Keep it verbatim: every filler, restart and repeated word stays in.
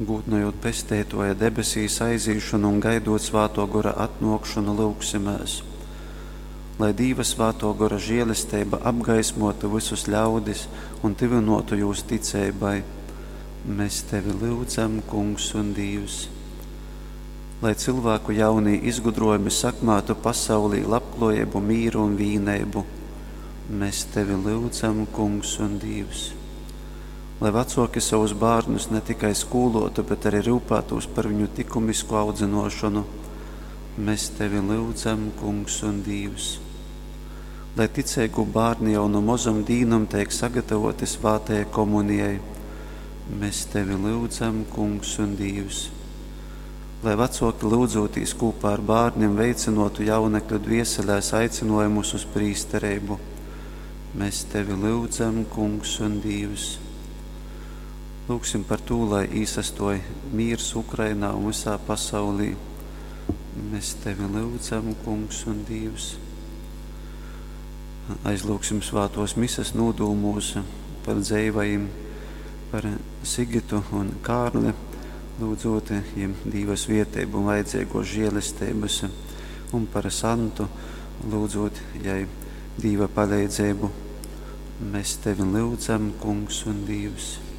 Gūdnojot Pesteitōja debesīs aizīšonu un gaidot Svātō Gora atnōkšonu, lyugsimēs. Lai Dīva Svātō Gora žēlesteiba apgaismōtu vysus ļaudis un tyvynōtu jūs ticeibai, mēs Tevi lyudzam, Kungs un Dīvs. Lai cylvāku jaunī izgudrōjumi sakmātu pasaulī labklōjeibu, mīru un vīneibu, mēs Tevi lyudzam, Kungs un Dīvs. Lai vacōki savus bārnus ne tikai skūlōtu, bet arī ryupātūs par viņu tikumisku audzynōšonu, mēs Tevi lyudzam, Kungs un Dīvs. Lai ticeigu bārni jau nu mozom dīnom teik sagatavoti svātajai komunijai, mēs Tevi lyudzam, Kungs un Dīvs. Lai vecōki lyudzūtīs kopā ar bārniem veicinotu jaunekļu dvieselēs aicinājumus uz prīstereibu, mēs Tevi lyudzam, Kungs un Dīvs. Lūgsim par to, lai īsastoj mīrs Ukrainā un visā pasaulī. Mēs Tevi lyudzam, Kungs un Dīvs. Aizlūgsim svātos mises nūdūmūs par dzeivajim, par Sigitu un Kārli, lūdzot jiem Dīva svieteibu un vajadzīgo žēlestības, un par Santu, lūdzot jai Dīva paleidzeibu. Mēs Tevi lyudzam, Kungs un Dīvs.